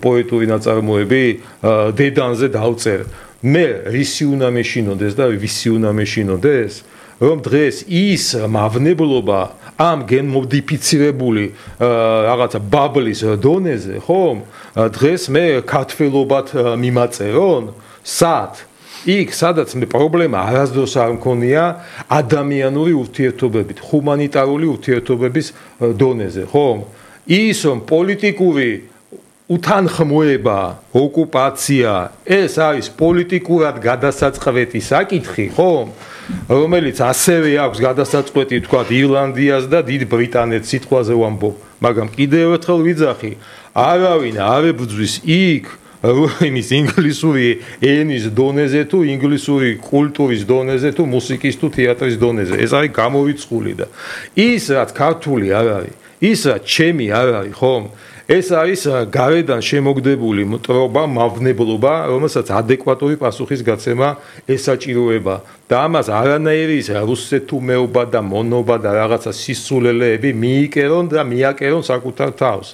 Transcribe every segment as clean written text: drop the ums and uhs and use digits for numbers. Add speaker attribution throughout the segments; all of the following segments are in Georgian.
Speaker 1: პოეტური ნაწარმოები დედანზე დავწერ. მე რისი უნდა მეშინოდეს და ვისი უნდა მეშინოდეს, რომ დღეს ის მავნებლობა ამ გენმოდიფიცირებული რაღაცა ბაბლის დონეზე, ხომ? დღეს მე ქართველობად მიმაწერონ, სად? იქ, სადაც მე პრობლემა არასდროს არ მქონია ადამიანური ურთიერთობებით, ჰუმანიტარული ურთიერთობების დონეზე, ხომ? ის რომ პოლიტიკური უთანხმოება, ოკუპაცია, ეს არის პოლიტიკურად გადასაწყვეტი საკითხი, ხომ? რომელიც ასევე აქვს გადასაწყვეტი, თქვა, ირლანდიას და დიდ ბრიტანეთს სიტყვაზე ვამბობ, მაგრამ კიდევ ერთხელ ვიძახი, არავინ არ ებრძვის იქ იმის ინგლისური ენის დონეზე თუ ინგლისური კულტურის დონეზე თუ მუსიკის თუ თეატრის დონეზე. ეს არის გამოვიწყული და ის რაც ქართული არ არის, ის რაც ჩემი არ არის, ხომ? ეს არის გარედან შემოგდებული მტრობა, მავნებლობა, რომელსაც ადეკვატური პასუხის გაცემა ესაჭიროება და ამას არანაირი რუსეთუმეობა და მონობა და რაღაცა სისულელეები მიიკერონ და მიაკერონ საკუთარ თავს.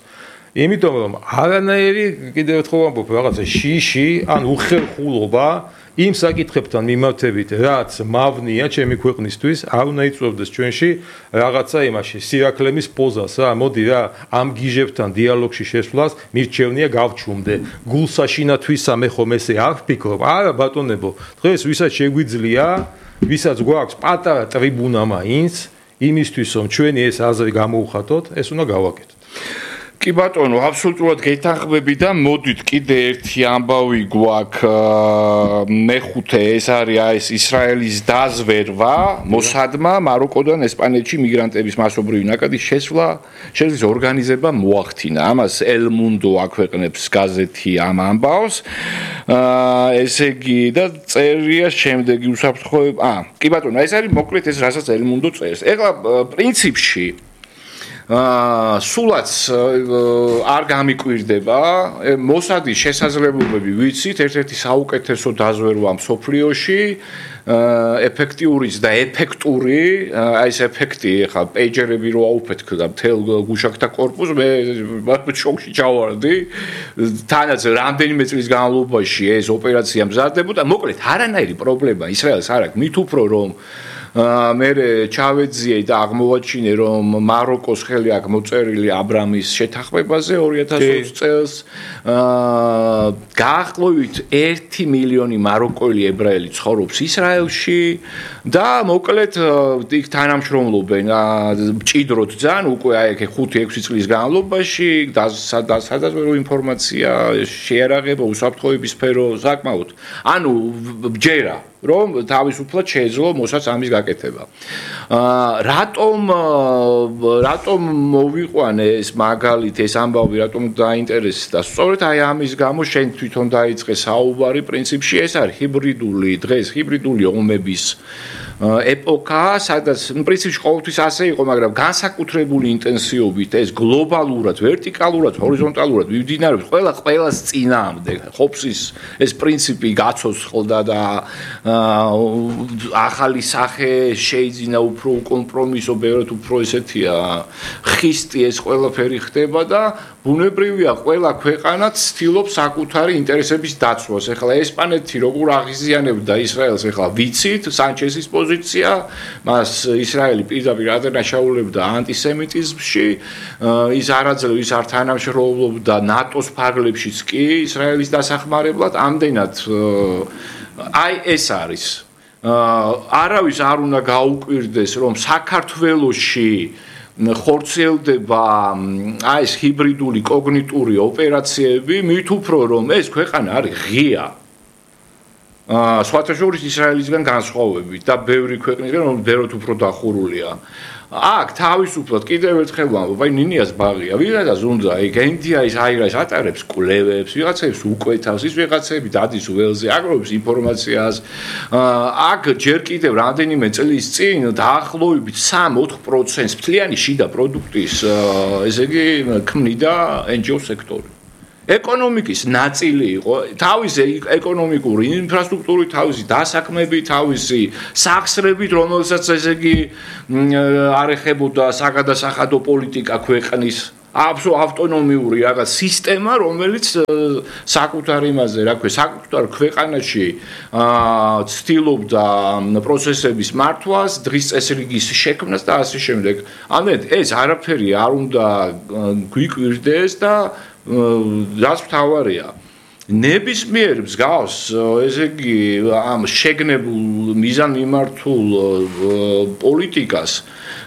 Speaker 1: იმიტომ რომ არანაირი კიდევ ერთხელ ვამბობ რაღაცა შიში ან უხერხულობა იმ საკითხებთან მიმართებით, რაც მავნია ჩემი ქვეყნისთვის, არ უნდა იწვევდეს ჩვენში რაღაცა იმაში, სირაქლემის პოზას რა, მოდი რა, ამ გიჟებთან დიალოგში შესვლას მირჩევნია გავჩუმდე. გულსაშინათვისა მე ხომ ესე არ ვფიქრობ, არა ბატონებო, დღეს ვისაც შეგვიძლია, ვისაც გვაქვს პატარა ტრიბუნა მაინც, იმისთვის რომ ჩვენი ეს აზრი გამოუხატოთ, ეს უნდა გავაკეთოთ.
Speaker 2: კი ბატონო, აბსოლუტურად გეთანხმები და მოდით კიდე ერთი ამბავი გვაქვს მეხუთე, ეს არის ისრაელის დაზვერვა მოსადმა მაროკოდან ესპანეთში მიგრანტების მასობრივი ნაკადის შესვლის ორგანიზება მოახდინა. ამას El Mundo აქვეყნებს გაზეთი ამ ამბავს. ესე იგი და წერია შემდეგი უსაფრთხოება. კი ბატონო, ეს არის მოკლედ ეს რასაც El Mundo წერს. ეხლა პრინციპში სულაც არ გამიკვირდება მოსადის შესაძლებლობები ვიცით ერთ-ერთი საუკეთესო დაზვერვა მსოფლიოში ეფექტიურიც და ეფექტური აი ეს ეფექტი ხა პეიჯერები რო აუფეთქ და მთელ გუშაკთა корпуს მე შოკში ჩავარდი თანაც რამდენიმე წლის განმავლობაში ეს ოპერაცია მზადდებოდა მოკლედ არანაირი პრობლემა ისრაელს არ აქვს მით უფრო რომ მე ჩავეძიე და აღმოვაჩინე რომ მაროკოს ხელი აქვს მოწერილი აბრამის შეთანხმებაზე 2020 წელს გაახლოებით 1 მილიონი მაროკოელი ებრაელი ცხოვრობს ისრაელში და მოკლედ იქ თანამშრომლობენ მჭიდროდ ძალიან უკვე აი 5-6 წლის განმავლობაში სადაზვერვო ინფორმაცია შეარაღება უსაფრთხოების სფერო საკმაოდ ანუ ბჯერა რომ თავისუფლად შეეძლო მოსაც ამის გაკეთება. რატომ მოვიყვანე ეს მაგალით ეს ამბავი რატომ დაინტერესდა? სწორედ აი ამის გამო შენ თვითონ დაიწყე საუბარი პრინციპში ეს არის ჰიბრიდული ომების ეპოქა, სადაც პრინციპში ყოველთვის ასე იყო, მაგრამ განსაკუთრებული ინტენსივობით ეს გლობალურად, ვერტიკალურად, ჰორიზონტალურად მიმდინარეობს ყველას წინააღმდეგ. ხოფსის ეს პრინციპი გაცოცხლდა და ახალი სახე შეიძინა უფრო კომპრომისო, ბევრად უფრო ესეთია ხისტი ეს ყველაფერი ხდება და ბუნებრივია ყველა ქვეყანა ცდილობს საკუთარი ინტერესების დაცვას. ეხლა ესპანეთი როგორ აღიზიანებდა ისრაელს, ეხლა ვიცით, სანჩესის პოზიცია, მას ისრაელი პირდაპირ ადანაშაულებდა ანტისემიტიზმში, ის არაძლევ ის არ თანამშრომლობდა ნატოს ფარგლებშიც კი ისრაელის დასახმარებლად, ამდენად აი ეს არის. არავის არ უნდა გაუკვირდეს, რომ საქართველოში ხორციელდება აი ეს ჰიბრიდული კოგნიტური ოპერაციები, მით უფრო რომ ეს ქვეყანა არის ღია. სხვათა შორის ისრაელისგან განსხვავებით და ბევრი ქვეყნისგან რომ ბევრად უფრო დახურულია. აქ თავისუფლად კიდევ ერთხელ ვამბობ, აი ნინიას ბაღია, ვიღაცას უნდა იქ ენდიაის აირას ატარებს კვლევებს, ვიღაცებს უკვეთავს, ის ვიღაცები დადის ველზე, აგროვებს ინფორმაციას. აქ ჯერ კიდევ რამდენიმე წლის წინ დაახლოებით 3-4% მთლიანი შიდა პროდუქტის, ესე იგი, ქმნიდა NGO სექტორი. ეკონომიკის ნაწილი იყო, თავისი ეკონომიკური ინფრასტრუქტურით, თავისი დასაქმებით, თავისი სახსრებით, რომელსაც ესე იგი არ ეხებოდა საგადასახადო პოლიტიკა ქვეყნის. ავტონომიური რაღაც სისტემა, რომელიც საკუთარ იმაზე, რა ქვია, საკუთარ ქვეყანაში ცდილობდა პროცესების მართვას, დღის წესრიგის შექმნას და ასე შემდეგ. ამეთ ეს არაფერი არ უნდა გვიკვირდეს და რაც მთავარია ნებისმიერ მსგავს, ესე იგი, ამ შეგნებულ მიზანმიმართულ პოლიტიკას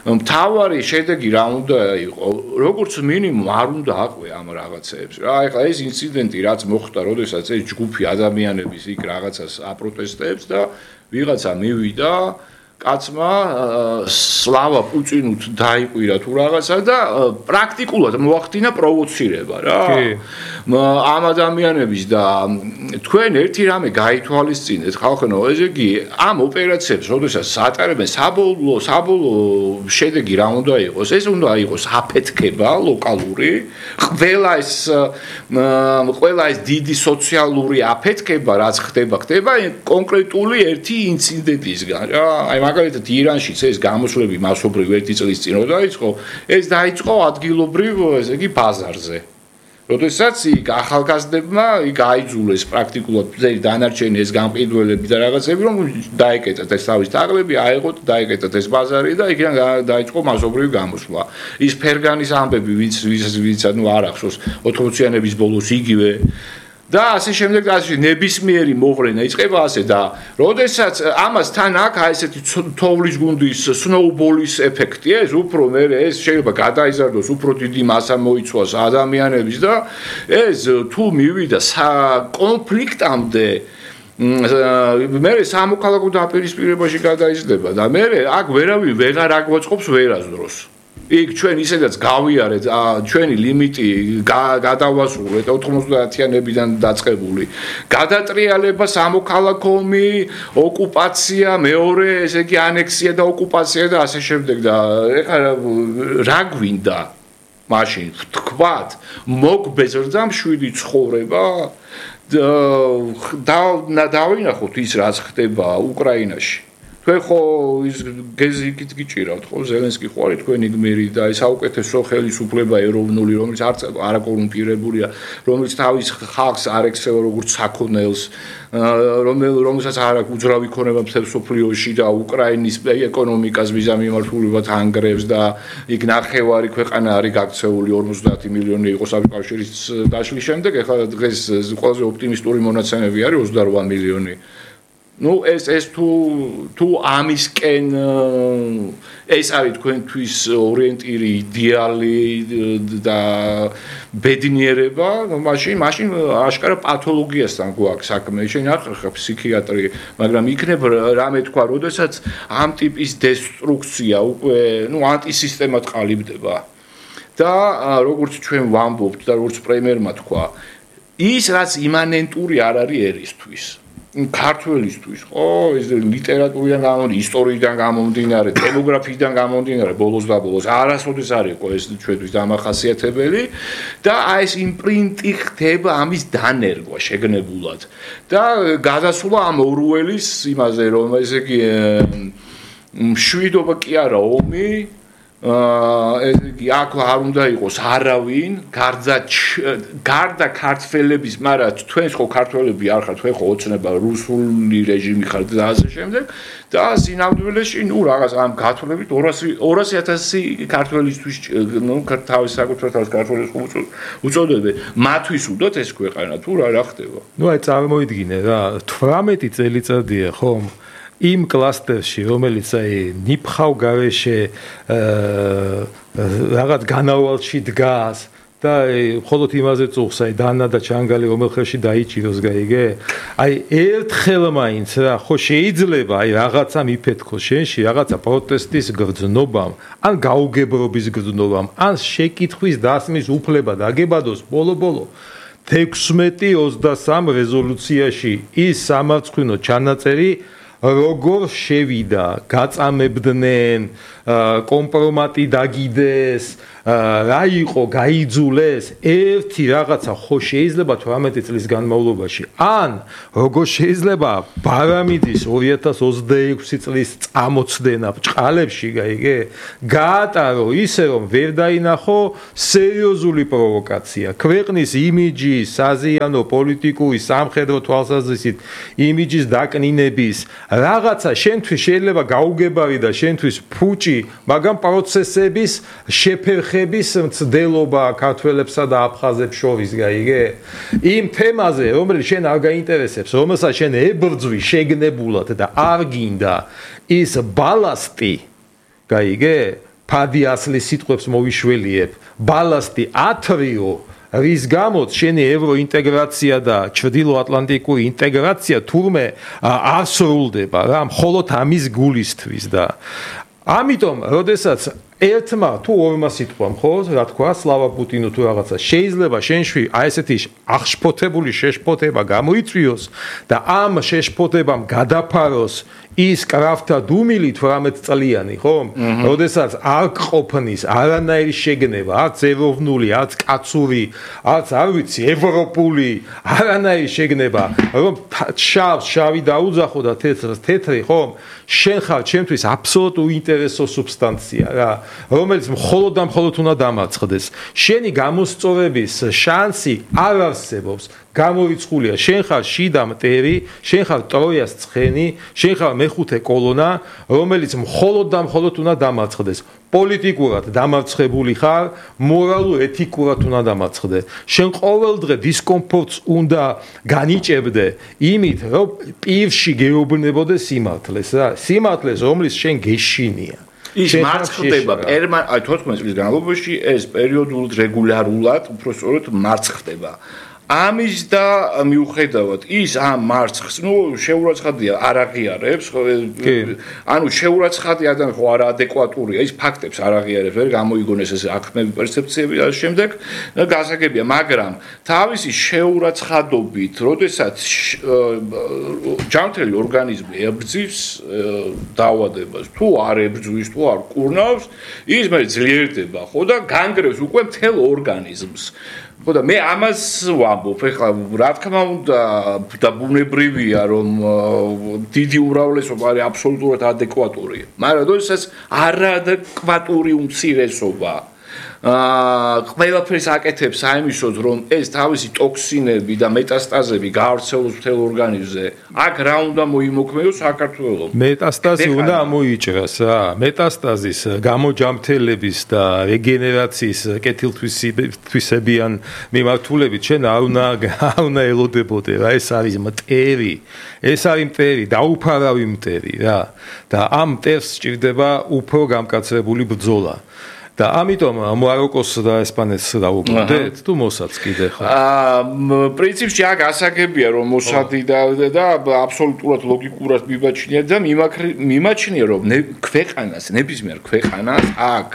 Speaker 2: მთავარი შედეგი რა უნდა იყოს? როგორც მინიმუმ არ უნდა აყვე ამ რაღაცებს. რა, ეხლა ეს ინციდენტი რაც მოხდა, როდესაც ეს ჯგუფი ადამიანების იქ რაღაცას აპროტესტებს და ვიღაცა მივიდა კაცმა სლავა პუწინუთ დაიყვირა თუ რაღაცა და პრაქტიკულად მოახდინა პროვოცირება რა. ამ ადამიანების და თქვენ ერთი რამე გაითვალისწინეთ ხალხო, ესე იგი ამ ოპერაციებს როდესაც ატარებენ საბოლოო შედეგი რა უნდა იყოს? ეს უნდა იყოს აფეთქება ლოკალური, ყველა ეს დიდი სოციალური აფეთქება რაც ხდება კონკრეტული ერთი ინციდენტისგან რა. აი მაგალითად ირანშიც ეს გამოსვლები მასობრივ ერთი წლის წინ რო დაიწყო, ეს დაიწყო ადგილობრივ, ესე იგი ბაზარზე. როდესაც იქ ახალგაზრდებმა იქ აიძულეს პრაქტიკულად ძელი დანარჩენი ეს გამყიდველები და რაღაცები, რომ დაეკეტათ ეს თავის თაღლები, აეღოთ, დაეკეტათ ეს ბაზარი და იქიდან დაიწყო მასობრივი გამოსვლა. ის ფერგანის ამბები, ვინც ანუ არ ახსოვს 80-იანების ბოლოს იგივე და ასე შემდეგ და ასე ნებისმიერი მოღრენა იწყება ასე და როდესაც ამას თან აქ ესეთი თოვლის გუნდის სნოუბოლის ეფექტი ეს უფრო მე ეს შეიძლება გადაიზარდოს უფრო დიდი მასა მოიცვას ადამიანების და ეს თუ მივიდა კონფლიქტამდე მე სამოქალაქო დაპირისპირებაში გადაიზრდება და მე აქ ვერავინ ვეღარ აგვაწყობს ვერასდროს იქ ჩვენ ისედაც გავიარეთ ჩვენი ლიმიტი გადავასრულეთ 90-იანებიდან დაწყებული გადატრიალება სამოქალაქო ომი ოკუპაცია მეორე ესე იგი ანექსია და ოკუპაცია და ასე შემდეგ და ეხლა რა გვინდა მაშინ თქვათ მოგბეზრდა მშვიდი ცხოვრება და დავინახოთ ის რაც ხდება უკრაინაში თქვენ ხო ის გეზიკით გიჭირავთ ხო ზელენსკი ხო არის თქვენი გმირი და ეს საუკეთესო ხელისუფლება ეროვნული რომელიც არ აკორუმპირებულია რომელიც თავის ხალხს არ ექცევა როგორც საქონელს რომელსაც არ აქვს უძრავი ქონება მთელ სოფლიოში და უკრაინის ეკონომიკას მიზანმიმართულებლად ანგრევს და იქ ნახევარი ქვეყანა არის გაქცეული 50 მილიონი იყო საბჭოთა დაშლის შემდეგ ეხლა დღეს ყველაზე ოპტიმისტური მონაცემები არის 28 მილიონი ну ეს თუ ამისკენ ეს არის თქვენთვის ორიენტირი იდეალი და ბედნიერება მაშინ აშკარა პათოლოგიასთან გვაქვს საქმე შენ არ ხარ ფსიქიატრი მაგრამ იქნებ რამე თქვა როდესაც ამ ტიპის დესტრუქცია უკვე ანტისისტემად ყალიბდება და როგორც ჩვენ ვამბობთ და როგორც პრემიერმა თქვა ის რაც იმანენტური არ არის ერისთვის ქართველისთვის ხო ეს ლიტერატურიდან გამომდინარე ისტორიიდან გამომდინარე დემოგრაფიიდან გამომდინარე ბოლოს და ბოლოს არასოდეს არ იყო ეს ჩვენთვის დამახასიათებელი და აი ეს იმპრინტი ხდება ამის დანერგვა შეგნებულად და გადასვლა ამ ორუელის იმაზე რომ ესე იგი მშვიდობა კი არა ომი ესე იგი აქ არ უნდა იყოს არავინ გარდა ქართველების მაგრამ თქვენს ხო ქართველები არ ხართ თქვენ ხო ოცნება რუსული რეჟიმი ხართ და ასე შემდეგ და სინამდვილეში რაღაც ამ გათვლებით 200,000 ქართველისთვის თავის საკუთარ თავს ქართველებს უწოდებენ მათთვის უდოთ ეს ქვეყანა თუ რა ხდება
Speaker 1: აი წარმოიდგინე რა 18 წელიწადია ხომ იმ კლასტერში რომელიც აი ნიფხავ გარეშე რაღაც განავალში დგას და მხოლოდ იმაზე წუხს აი დანა და ჩანგალი რომელ ხელში დაიჭიროს გაიგე აი ერთხელ მაინც რა ხო შეიძლება აი რაღაცა მიფეთქოს შენში რაღაცა პროტესტის გრძნობამ ან გაუგებრობის გრძნობამ ან შეკითხვის დასმის უფლება დაგებადოს ბოლო 16-23 რეზოლუციაში ის სამარცხვინო ჩანაწერი როგორ შევიდა, გაწამებდნენ, კომპრომატი დაგიდეს, რა იყო გაიძულეს ერთი რაღაცა ხო შეიძლება 18 წლის განმავლობაში ან როგორ შეიძლება ბარამიდის 2026 წლის წამოწდენა ბჭყალებში გაიგე გაატარო ისე რომ ვერ დაინახო სერიოზული პროვოკაცია ქვეყნის იმიჯი საზიანო პოლიტიკური სამხედრო თვალსაზრისით იმიჯის დაკნინების რაღაცა შენთვის შეიძლება გაუგებარი და შენთვის ფუჭი მაგრამ პროცესების შეფერხების მცდელობა ქართველებსა და აფხაზებს შორის გაიგე იმ თემაზე რომელიც შენ არ გაინტერესებს რომელსაც შენ ებრძვი შეგნებულად და არ გინდა ის ბალასტი გაიგე ფადი ასლის სიტყვებს მოვიშველიებ ბალასტი ათრიო რის გამოც შენი ევროინტეგრაცია და ჩრდილოატლანტიკური ინტეგრაცია თურმე არ სრულდება რა მხოლოდ ამის გულისთვის და ამიტომ როდესაც ერთმა თუ ორმა სიტყვამ ხო რა თქვა სლავა პუტინო თუ რაღაცა შეიძლება შენში აი ესეთი აღშფოთებული შეშფოთება გამოიწვიოს და ამ შეშფოთებამ გადაფაროს ის კრაფტა დუმილი 18 წლიანი ხო? როდესაც არ ყოფნის არანაირი შეგნება, არც ეროვნული, არც კაცური, არც არ ვიცი, ევროპული, არანაირი შეგნება, რომ შავი დაუძახო და თეთრს თეთრი, ხო? შენ ხარ ჩემთვის აბსოლუტ უინტერესო სუბსტანცია რა, რომელიც მხოლოდ და მხოლოდ უნდა დამარცხდეს. შენი გამოსწორების შანსი არ არსებობს. გამორიცხულია შენ ხარ შიდა მტერი, შენ ხარ ტროიას ცხენი, შენ ხარ მეხუთე კოლონა, რომელიც მხოლოდ და მხოლოდ უნდა დამარცხდეს. პოლიტიკურად დამარცხებული ხარ, მორალურ ეთიკურად უნდა დამარცხდე. შენ ყოველდღე დისკომფორტს უნდა განიჭებდე იმით, რომ პირში გეუბნებოდე სიმართლეს რა, სიმართლეს, რომლის შენ გეშინია.
Speaker 2: ის მარცხდება აი 14 წლის განმავლობაში ეს პერიოდულად რეგულარულად უпростоროდ მარცხდება. ამის და მიუხედავად ის ამ მარცხს, შეურაცხადია არ აღიარებს, ანუ შეურაცხადი ადამიანი ხო არაადეკვატურია, ის ფაქტებს არ აღიარებს, ვერ გამოიგონეს ეს აქტები, პერსეფციები და შემდეგ გასაგებია, მაგრამ თავისი შეურაცხადობით, როდესაც ჯანმრთელი ორგანიზმი ებრძვის დაავადებას, თუ არ ებრძვის, თუ არ კურნავს, ის მე ძლიერდება, ხო და განგრევს უკვე მთელ ორგანიზმს. ხო და მე ამას ვამბობ, ეხლა რა თქმა უნდა და ბუნებრივია რომ დიდი უმრავლესობა არის აბსოლუტურად ადეკვატური, მაგრამ როდესაც არაადეკვატური უმცირესობა ყველაფერს აკეთებს აიმისოდ რომ ეს თავისი ტოქსინები და მეტასტაზები გაავრცელოს მთელ ორგანიზმზე, აქ რა უნდა მოიმოქმედოს საქართველოს?
Speaker 1: მეტასტაზი უნდა ამოიჭრას რა, მეტასტაზის გამოჯამრთელების და რეგენერაციის კეთილთვისებიან მიმართულებით შენ არ უნდა ელოდებოდე რა, ეს არის მტერი, ეს არის მტერი, დაუფარავი მტერი რა და ამ მტერს სჭირდება უფრო გამკაცრებული ბრძოლა. და ამიტომ მაროკოს და ესპანეთს დაუბრუნდეთ თუ მოსადს კიდე ხარ?
Speaker 2: პრინციპში აქ ასაგებია რომ მოსადი და აბსოლუტურად ლოგიკურად მიმაჩნია და მიმაჩნია რომ ქვეყანას, ნებისმიერ ქვეყანას აქ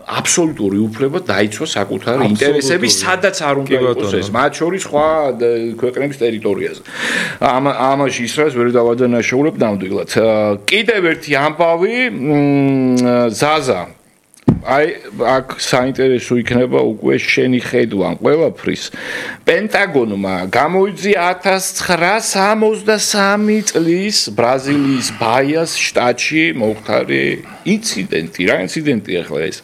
Speaker 2: აბსოლუტური უფლება დაიცვა საკუთარი ინტერესები, სადაც არ უნდა იყოს ეს, მათ შორის სხვა ქვეყნების ტერიტორიაზე. ამაში ისრაელს ვერ დავადანაშაულებ ნამდვილად. კიდევ ერთი ამბავი, ზაზა აი აქ საინტერესო იქნება უკვე შენი ხედვა ყველაფრის. პენტაგონმა გამოიძია 1963 წლის ბრაზილიის ბაიას შტატში მოხდარი ინციდენტი. რა ინციდენტია ახლა ეს?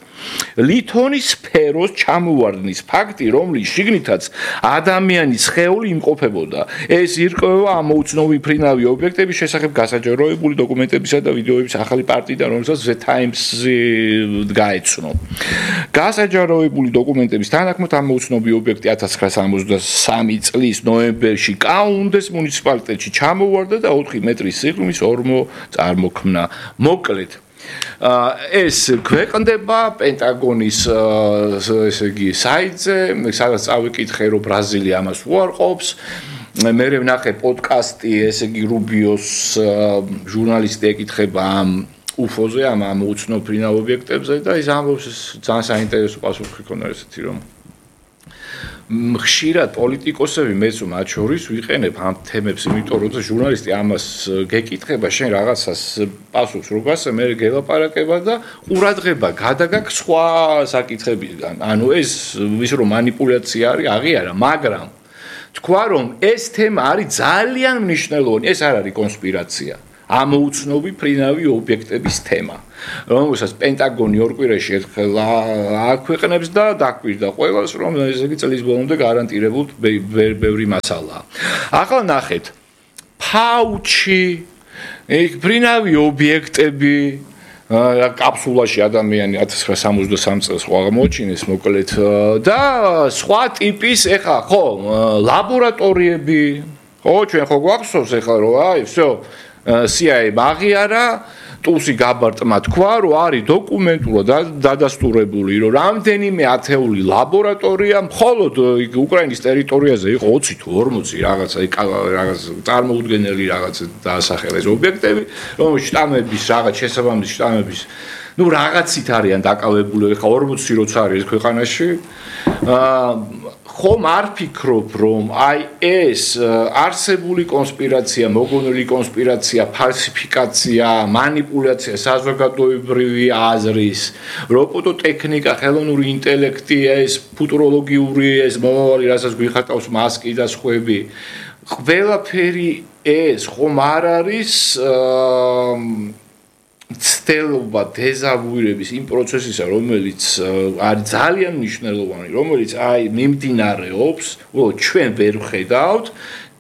Speaker 2: ლითონის სფეროს ჩამოვარდნის ფაქტი, რომლის შიგნითაც ადამიანის სხეული იმყოფებოდა. ეს ირკვევა ამ უცნობი ფრინავი ობიექტების შესახებ გასაჯაროებული დოკუმენტებისა და ვიდეოების ახალი პარტიიდან, რომელსაც The Times-ი გაეცნო. გასაჯაროებული დოკუმენტების თანახმად ამ უცნობი ობიექტი 1963 წლის ნოემბერში კაუნდეს მუნიციპალიტეტში ჩამოვარდა და 4 მეტრის სიღრმის ორმო წარმოქმნა. მოკლედ ეს ქვეყნდება პენტაგონის ესე იგი საიტზე, სადაც წავიკითხე რომ ბრაზილია ამას უარყოფს. მე ვნახე პოდკასტი, ესე იგი რუბიოს ჟურნალისტი ეკითხება ამ უფოზე, ამ უცნობ ფრინავ ობიექტებზე და ის ამბობს ძალიან საინტერესო პასუხი ქონა ესეთი რომ ხშირად პოლიტიკოსები მეც მათ შორის ვიყენებ ამ თემებს, იმიტომ რომ ჟურნალისტი ამას გეკითხება, შენ რაღაცას პასუხს რო გასცე, მე გელაპარაკება და ყურადღება გადაგაქვს სხვა საკითხებიდან. ანუ ეს ვის რომ манипуляცია არის, აღიარა, მაგრამ თქვა რომ ეს თემა არის ძალიან მნიშვნელოვანი, ეს არ არის კონსპირაცია. ამოუცნობი ფრინავი ობიექტების თემა, რომელსაც პენტაგონი ორ კვირაში ერთხელ აქვეყნებს და დაკვირდა ყველას, რომ ესე იგი წლის ბოლომდე გარანტირებულად ბევრი მასალაა. ახლა ნახეთ, ფაუჩი, ფრინავი ობიექტები, კაფსულაში ადამიანი 1963 წელს ხო აღმოჩინეს მოკლედ და სხვა ტიპის, ეხლა ხო, ლაბორატორიები, ხო, ჩვენ ხო გვახსოვს ეხლა რომ აი, всё CIA მაგიარა ტუსი გაბარტმა თქვა რომ არის დოკუმენტურად დადასტურებული რომ რამდენიმე ათეული ლაბორატორია მხოლოდ უკრაინის ტერიტორიაზე იყო 20 თუ 40 რაღაც წარმოუდგენელი რაღაც დაასახელეს ობიექტები რომელშიც შტამების რაღაც შესაბამისი შტამების ну რაღაცით არიან დაკავებული ხა 40 როცა არის ქვეყანაში ხომ არ ფიქრობ რომ აი ეს არსებული კონსპირაცია, მოგონილი კონსპირაცია, ფალსიფიკაცია, манипуляცია საზოგადოებრივი აზრის, რობოტოტექნიკა, ხელოვნური ინტელექტი, ეს ფუტუროლოგიური ეს მომავალი, რასაც გვიხატავს მასკი და სხვები, ყველაფერი ეს ხომ არ არის ცდელობა დეზავუირების იმ პროცესისა, რომელიც არის ძალიან მნიშვნელოვანი, რომელიც აი მიმდინარეობს, ჩვენ ვერ ვხედავთ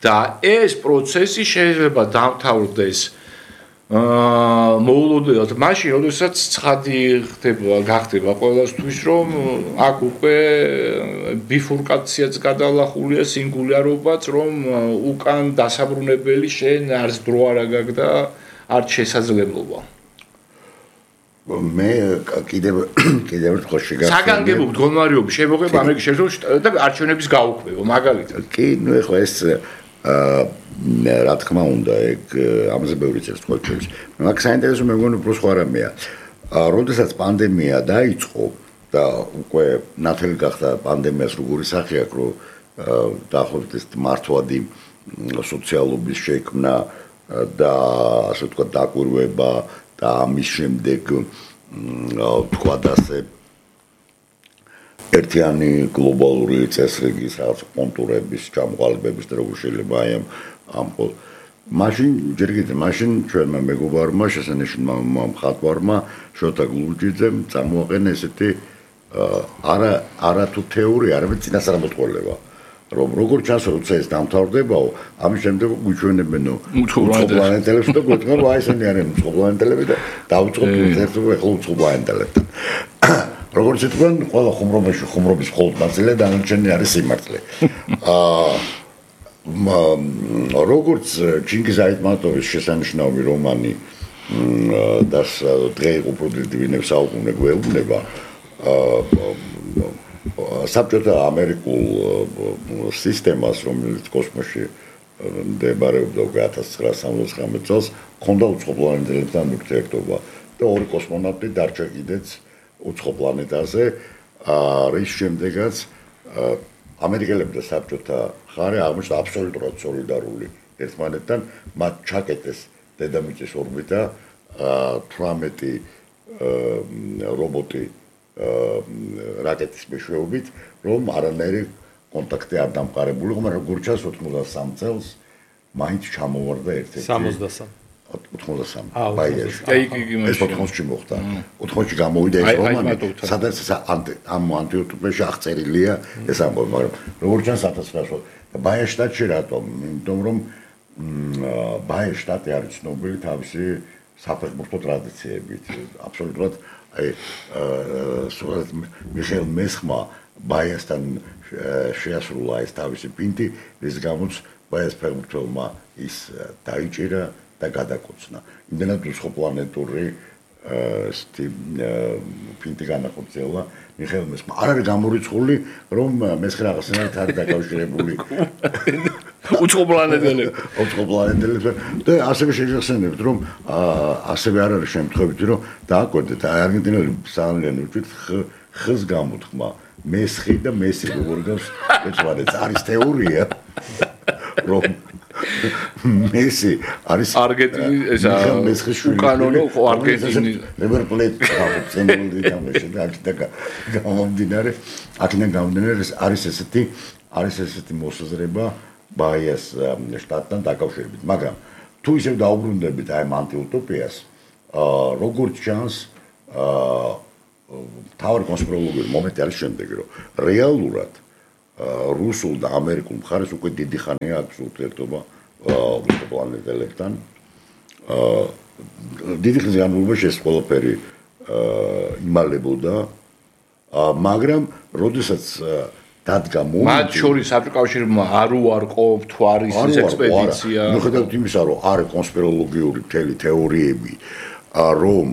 Speaker 2: და ეს პროცესი შეიძლება დამთავრდეს მოულოდნელად მაშინ, როდესაც ცხადი გახდება ყველასთვის, რომ აქ უკვე ბიფურკაციაც გადალახულია, სინგულარობაც, რომ უკან დასაბრუნებელი შენ არც დრო არ აგაგ და არც შესაძლებლობა.
Speaker 3: მე კიდევ ერთხელ შეგახსენე
Speaker 2: საგანგებო მდგომარეობის შემოღება ამერიკის შეერთებულ შტატებში და არჩევნების გაუქმება მაგალითად.
Speaker 3: კი, ნუ ეხლა ეს რა თქმა უნდა, ეგ ამაზე ბევრი წერს თქვენს. მაგ საინტერესო მე მგონი უფრო სხვა რამეა. როდესაც პანდემია დაიწყო და უკვე ნათელი გახდა პანდემიას როგორი სახე აქვს, რომ დაახლოებით ეს მართვადი სოციალობის შექმნა და ასე ვთქვათ დაკვირვება და ამის შემდეგ თქვა ასე ერთიანი გლობალური წესრიგის რაღაც კონტურების ჩამოყალიბების და როგორ შეიძლება აი ამ მაშინ ჯერ კიდევ მაშინ ჩვენმა მეგობარმა შესანიშნავ მხატვარმა შოთა გლუჯიძემ წამოაყენა ესეთი არა თუ თეორია, არამედ წინასწარმეტყველება. რომ როგორ ჩანს როცა ეს დამთავრდებაო, ამის შემდეგ გვიჩვენებენო უცხოპლანეტელებს და გვეტყვენ რომ აი ესენი არიან უცხოპლანეტელები და დავიწყოთ ერთობა ეხლა უცხოპლანეტელებთან. როგორც იტყვენ, ყველა ხუმრობაში ხუმრობის მხოლოდ ნაწილი და დანარჩენი არის სიმართლე. როგორც ჩინგიზ აიტმატოვის შესანიშნავი რომანი das drei უპროდუქტივინებ საუკუნე გვეუბნება საბჭოთა ამერიკულ სისტემას, რომელიც კოსმოსში მდებარეობდა 1969 წელს, ჰქონდა უცხოპლანეტელებთან ურთიერთობა და ორი კოსმონავტი დარჩა კიდეც უცხოპლანეტაზე, რის შემდეგაც ამერიკელები და საბჭოთა ხარი აღმოჩნდა აბსოლუტურად სოლიდარული ერთმანეთთან, მათ ჩაკეტეს დედამიწის ორბიტა, 18 რობოტი რაკეტის მეშვეობით, რომ არანაირი კონტაქტი არ დამყარებული, მაგრამ როგორც ჩანს 83 წელს მაინც ჩამოვარდა ერთ-ერთი 83. ბაიერში. ეს 80-ში მოხდა. 80-ში გამოვიდა ეს რომანი, სადაც ამ ანტიუტოპიაში აღწერილია ეს ამბავი, მაგრამ როგორც ჩანს 1900 და ბაიერის შტატში რატომ? იმიტომ რომ ბაიერის შტატი არის ცნობილი თავისი საფეხბურთო ტრადიციებით. აბსოლუტურად აი მიხეილ მესხმა ბაიასთან შეასრულა ეს თავისი პინტი, რის გამოც ბაიას ფეხბურთელმა ის დაიჭირა და გადაკოცნა. იმდენად უცხოპლანეტური პინტი განახორციელა მიხეილ მესხმა. არ არის გამორიცხული, რომ მესხი რაღაცნაირად არის დაკავშირებული უცხოპლანეტელებს და ასევე შეგახსენებთ, რომ ასევე არ არის შემთხვევით, რომ დააკვირდეთ, არგენტინელი ძალიან უჭირთ ხს გამოთქმა მესხი და მესი როგორ გავს ეცვადეთ არის თეორია რომ მესი არის
Speaker 2: არგენტინის ესა უკანონო არგენტინის
Speaker 3: River Plate წენული თამაში და აქედან გამომდინარე არის ესეთი მოსაზრება ბაიას შტატთან დაკავშირებით მაგრამ თუ ისევ დაუბრუნდებით აი ამ ანტიუტოპიას როგორც ჩანს თავი კონსპიროლოგიური მომენტი არის შემდეგ რომ რეალურად რუსულ და ამერიკულ მხარეს უკვე დიდი ხანია აქვს ურთიერთობა პლანეტელებთან დიდი ხნის განმავლობაში ეს ყველაფერი იმალებოდა მაგრამ როდესაც დადგა მომენტი
Speaker 2: მათ შორის აფრიკავშირმა არ უარყოფ თუ არის ეს ექსპედიცია
Speaker 3: მიუხედავად იმისა რომ არის კონსპიროლოგიური მთელი თეორიები რომ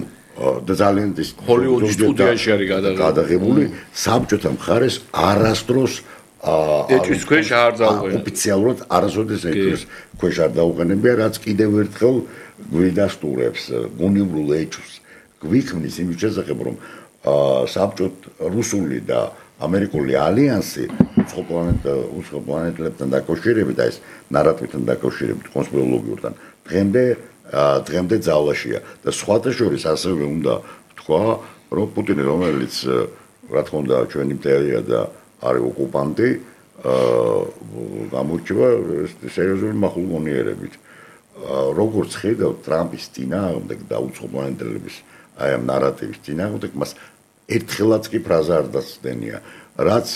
Speaker 3: და ძალიან ის
Speaker 2: ჰოლივუდის სტუდიაში არის
Speaker 3: გადაღებული საბჭოთა მხარეს არასდროს
Speaker 2: ეჭვის ქვეშ არ დაუყენებია
Speaker 3: ოფიციალურად არასოდეს ეჭვის ქვეშ არ დაუყენებია რაც კიდევ ერთხელ გვიდასტურებს გუნივრულ ეჭვს გვიქმნის იმის შესახებ რომ საბჭოთ რუსული და ამერიკული ალიანსი უცხო პლანეტელებთან დაკავშირებით და ეს ნარატივთან დაკავშირებით კონსპიროლოგიურთან დღემდე ძალაშია და სხვათა შორის ასევე უნდა ვთქვა რომ პუტინი რომელიც რა თქმა უნდა ჩვენი მტერია და არის ოკუპანტი გამორჩება სერიოზული მახულგონიერებით როგორც ხედავ ტრამპის წინააღმდეგ და უცხო პლანეტელების აი ამ ნარატივის წინააღმდეგ მას ერთხელაც კი ფრაზა არ დასდენია რაც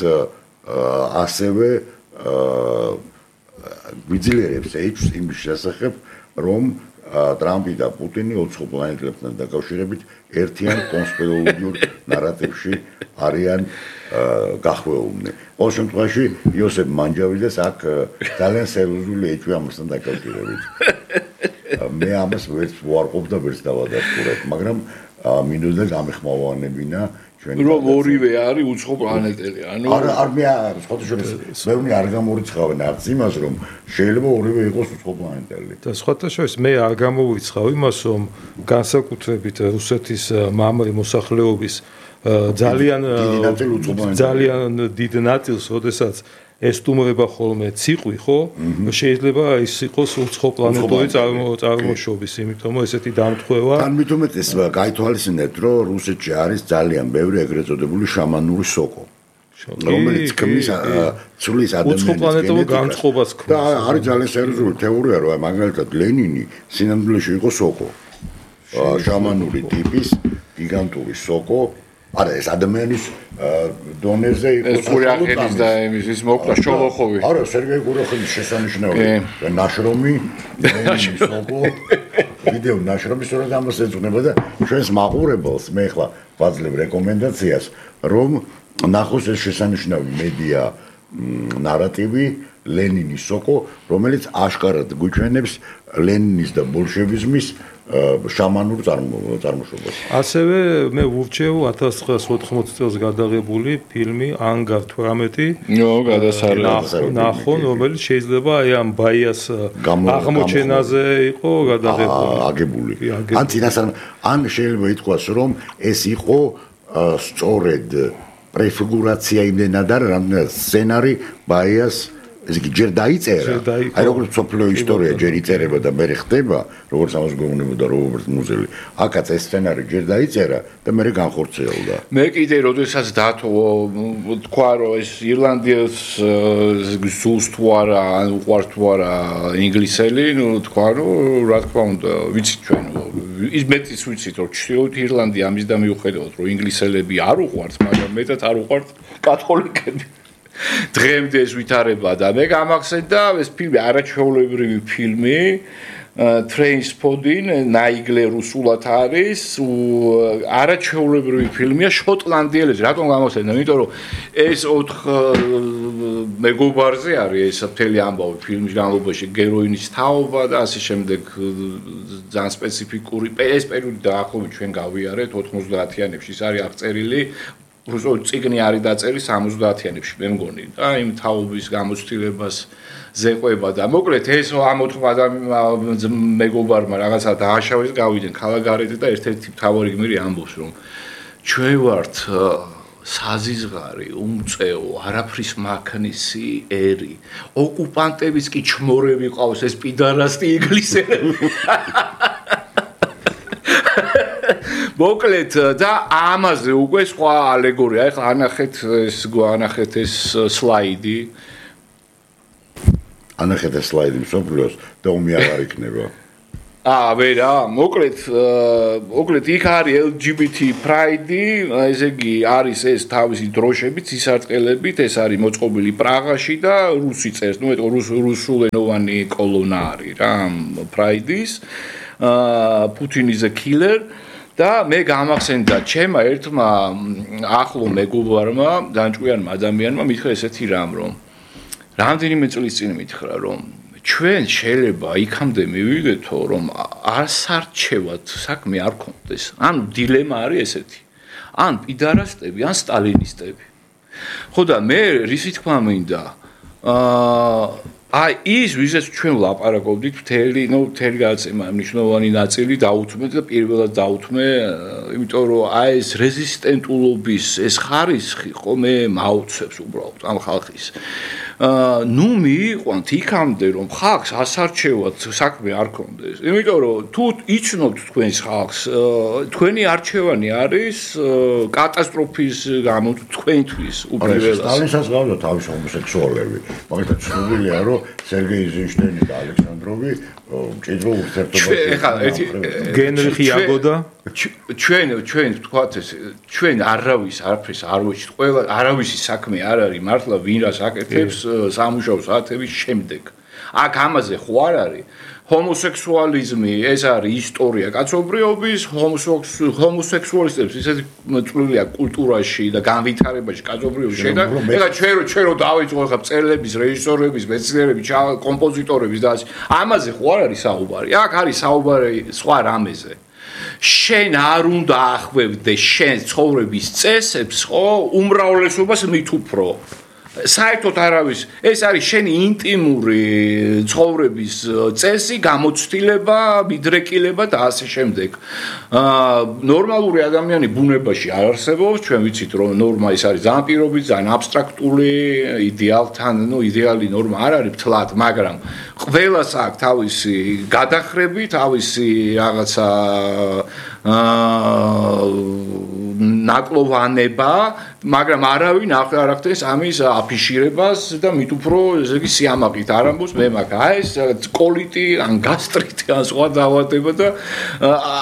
Speaker 3: ასევე გვიძლიერებს ეჭვს იმის შესახებ რომ ტრამპი და პუტინი უცხო პლანეტელებთან დაკავშირებით ერთიან კონსპიროლოგიურ ნარატივში არიან გახვეულნი. ყოველ შემთხვევაში იოსებ მანჯავიძეს აქ ძალიან სერიოზული ეჭვი ამასთან დაკავშირებით. მე ამას ვერც ვარყოფ და ვერც დავადასტურებ, მაგრამ მინდოდა გამეხმოვანებინა
Speaker 2: რომ ორივე არის უცხო პლანეტელი. ანუ
Speaker 3: არ მე სხვათაშორის არ გამორიცხავენ არც იმას რომ შეიძლება ორივე იყოს უცხო პლანეტელი.
Speaker 1: და სხვათაშორის მე არ გამოვიცხავ იმას რომ განსაკუთრებით რუსეთის მამრი მოსახლეობის ძალიან დიდ ნაწილს, როდესაც ესტუმრება ხოლმე ციყვი, ხო? შეიძლება ის იყოს უცხო პლანეტური წარმოშობის, იმიტომ რომ ესეთი დამთხევა.
Speaker 3: თან მით უმეტეს გაითვალისწინეთ, რომ რუსეთში არის ძალიან ბევრი ეგრეთ წოდებული შამანური სოკო. რომელიც ქმნის ცვლის ადამიანის
Speaker 1: უცხო პლანეტურ განწყობას ქმნის.
Speaker 3: და არის ძალიან სერიოზული თეორია, რომ მაგალითად ლენინი სინამდვილეში იყო სოკო. შამანური ტიპის გიგანტური სოკო არა ეს ადამიანის დონეზე იყო
Speaker 2: ყურახელის და ის მოკლა შოლოხოვი
Speaker 3: არა სერგეი ყურახელის შესანიშნავი ნაშრომი სოკო ვიდეო ნაშრომი სწორედ ამას ეძღვნება და ჩვენს მაყურებელს მე ახლა ვაძლევ რეკომენდაციას რომ ნახოს ეს შესანიშნავი მედია ნარატივი ლენინის სოკო რომელიც აშკარად გვიჩვენებს ლენინის და ბოლშევიზმის შამანურ წარმოშობას.
Speaker 1: ასევე მე ვურჩევ 1980 წელს გადაღებული ფილმი ანგარ 18 ნახონ, რომელიც შეიძლება აი ამ ბაიას აღმოჩენაზე იყო
Speaker 3: აგებული. ან შეიძლება ითქვას, რომ ეს იყო სწორედ პრეფიგურაცია იმდენად არა, რამდენად სცენარი ბაიას ეს კი ჯერ დაიწერა. აი როგორც სოფლიო ისტორია ჯერ იწერება და მე ხდება, როგორც ამას გვეუბნებოდა რობერტ მუზელი. აქაც ეს სცენარი ჯერ დაიწერა და მე განხორციელდა.
Speaker 2: მე კიდე როდესაც თქვა რომ ეს ირლანდიას ზუსტ თუ არა, ან უყვართ თუ არა ინგლისელი, ნუ თქვა რომ რა თქმა უნდა, ვიცით ჩვენ ის მეტიც ვიცით რომ ჩრდილოეთ ირლანდია ამის და მიუხედავად რომ ინგლისელები არ უყვართ, მაგრამ მეტად არ უყვართ კათოლიკები. დღემდე ეს ვითარება და მე გამახსენდა ეს ფილმი არაჩვეულებრივი ფილმი Trainspotting ნაიგლე რუსულად არის არაჩვეულებრივი ფილმია შოტლანდიელებს რატომ გამახსენდა იმიტომ რომ ეს 4 მეგობარზე არის ეს მთელი ამბავი ფილმის განმავლობაში გეროინის თაობა და ასე შემდეგ ძალიან სპეციფიკური ეს პერიოდი დაახლოებით ჩვენ გავიარეთ 90-იანებში ის არის აღწერილი რუსულ ციგნი არის დაწერილი 70-იანებში მე მგონი და იმ თაობის გამოცდილებას ზეყვება და მოკლედ ეს ამ 4 მეგობარმა რაღაცა დააშავეს გავიდნენ ქალაქგარეთ და ერთ-ერთი მთავარი გმირი ამბობს რომ ჩვენ ვართ საზიზღარი, უმწეო, არაფრის მაქნისი ერი. ოკუპანტების კი ჩმორები ყავს ეს პიდარასტი ინგლისელები. მოკლედ და ამაზე უკვე სხვა ალეგორია. ეხლა ანახეთ ეს სლაიდი.
Speaker 3: ანახეთ ეს სლაიდი მსოფლიოს და ომი აღარ იქნება.
Speaker 2: ვერა, მოკლედ იქ არის LGBT Pride-ი, ესე იგი არის ეს თავისი დროშებით, სისარტყელებით, ეს არის მოწყობილი პრაღაში და რუსი წერს, რუსულენოვანი კოლონა არის რა, Pride-ის. Putin is a killer და მე გამახსენდა ჩემმა ერთმა ახლო მეგობარმა, განჭკვიანმა ადამიანმა მითხრა ესეთი რამ, რომ რამდენიმე წლის წინ მითხრა, რომ ჩვენ შეიძლება იქამდე მივიდეთო, რომ არსარჩევად საქმე არ ქონდეს. ანუ დილემა არის ესეთი. ან პიდარასტები, ან სტალინისტები. ხო და მე რისი თქმა მინდა, ის ვიზეც ჩვენ ვლაპარაკობდით მთელი გადაცემა მნიშვნელოვანი ნაწილი დაუთმეთ და პირველად დაუთმე, იმიტომ რომ ეს რეზისტენტულობის ეს ხარისხი ხომ მაუცებს უბრალოდ ამ ხალხის. ნუ მიიყვანთ იქამდე რომ ხალხს ასარჩევად საქმე არ ქონდეს. იმიტომ რომ თუ იცნობთ თქვენს ხალხს, თქვენი არჩევანი არის კატასტროფის გამო თქვენთვის უპირველეს.
Speaker 3: სტალინსაც გავდა თავის ჰომოსექსუალები. მაგალითად ცნობილია რომ სერგეი ეიზენშტეინი და ალექსანდროვი მჭიდრო ურთიერთობაში
Speaker 1: გენრიხი იაგოდა
Speaker 2: ჩვენ თქვათ ეს ჩვენ არაფერს არ ვეჩით, ყველა არავისი საქმე არ არის მართლა ვინ რას აკეთებს სამუშაო საათების შემდეგ. აქ ამაზე ხო არ არის ჰომოსექსუალიზმი, ეს არის ისტორია კაცობრიობის, ჰომოსექსუალისტებს ისეთი წვლილია კულტურაში და განვითარებაში კაცობრიობის შედეგად. ეხლა ჩვენ რო დავიწყო ეხლა მწერლების, რეჟისორების, მეცნიერების, კომპოზიტორების და ამაზე ხო არ არის საუბარი. აქ არის საუბარი სხვა რამეზე. შენ არ უნდა ახვევდე შენ ცხოვრების წესებს, ხო, უმრავლესობას მით უფრო. საერთოდ არავის, ეს არის შენი ინტიმური ცხოვრების წესი, გამოცდილება, მიდრეკილება და ასე შემდეგ. ნორმალური ადამიანი ბუნებაში არ არსებობს, ჩვენ ვიცით რომ ნორმა ის არის ძალიან პირობითი, ძალიან აბსტრაქტული, იდეალთან, იდეალი ნორმა არ არის მთლად, მაგრამ ყველას აქვს თავისი გადახრები, თავისი რაღაცა ნაკლოვანება, მაგრამ არავინ არ ახდენს ამის აფიშირებას და მით უფრო ესე იგი სიამაყით არ ამბობს მე მაგ ეს კოლიტი ან გასტრიტი ან სხვა დაავადება და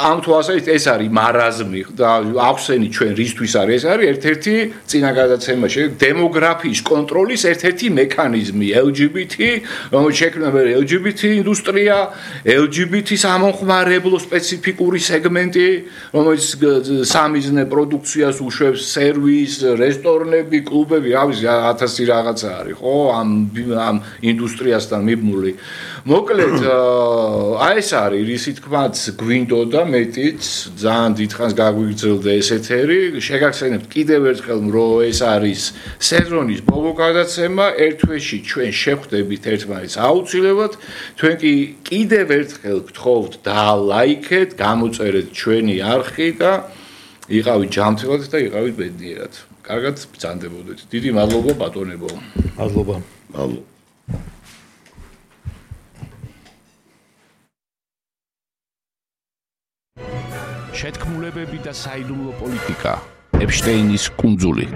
Speaker 2: ამ თვალსაზრისით ეს არის მარაზმი და ახსენით ჩვენ რისთვის არის ეს არის ერთ-ერთი წინა გადაცემაში დემოგრაფიის კონტროლის ერთ-ერთი მექანიზმი LGBT, რომელიც შექმნება LGBT ინდუსტრია, LGBT სამომხმარებლო სპეციფიკური სეგმენტი, რომელიც სამიზნე პროდუქციას უშვებს, სერვის, რესტორნები, კლუბები, რავი 1000 რაღაცა არის, ხო, ამ ინდუსტრიასთან მიბმული. მოკლედ, ეს არის, რისი თქმაც გვინდოდა მეტიც, ძალიან დიდხანს გაგვიგრძელდა ეს ეთერი. შეგახსენებთ კიდევ ერთხელ, რომ ეს არის სეზონის ბოლო გადაცემა, ერთ თვეში ჩვენ შევხვდებით ერთმანეთს აუცილებლად. თქვენ კი კიდევ ერთხელ გთხოვთ დალაიქეთ, გამოწერეთ ჩვენი არხი და იყავით ჯანმრთელად და იყავით ბედნიერად. კარგად ბრძანდებოდეთ. დიდი მადლობა ბატონებო.
Speaker 1: მადლობა.
Speaker 3: მადლობა.
Speaker 2: შეთქმულებები და საიდუმლო პოლიტიკა. ეპშტეინის კუნძული.